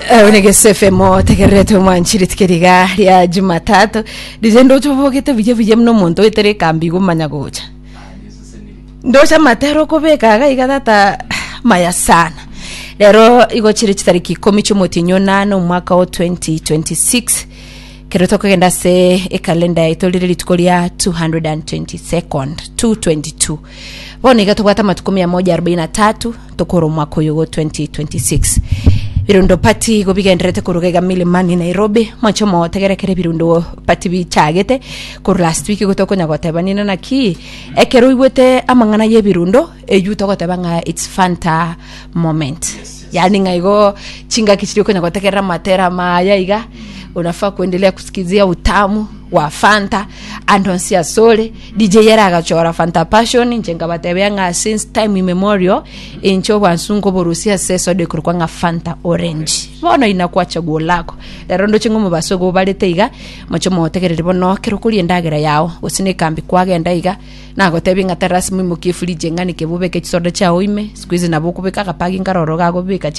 Onegese FM otegererete omwanchi rituko riga ria Jumatatu riria ndoche obogete buya buya buna omonto oetere ekambi igo omanya gocha ndoche amatera okobeka iga iga tata maya sana rero igo chire chitariki ikomi chiomotienyi onane omwaka o 2026 Kero tokogenda ase ekalenda yaito rire rituko ria 222nd 222 bono iga tobwate amatuko 143 tokora omwaka oyo go 2026 birundo party igo bigenderete koruga iga milimani nairobi mwanche omotegerekere birundo party bichagete korwa last week igo tokonya goteba nina naki ekero oigwete amang'ana ya ebirundo eywo togoteba ng'a it's fanta moment Yaani ng'a igo chingaki chiria okonya gotegerera amatera amaya iga unafaa kuendelea kusikizia utamu wa Fanta ande onsi asore DJ ere agachora Fanta Passion inche nkabatebia ng'a since time immemorial inche obwansu nkoborusia ase esoda ekorokwa ng'a Fanta Orange bono inakuwa chaguo lako rero ndoche ng'a omobaso igo obarete iga moche motegereri bono ekero okoria endagera yao gose na ekambi kwagenda iga Nagotebie ng'a tari lasima oimokie efridge eng'ani kebe obeke chisoda chiao ime, siku hizi nabo okobeka agapagi nkare ororo gakobeka.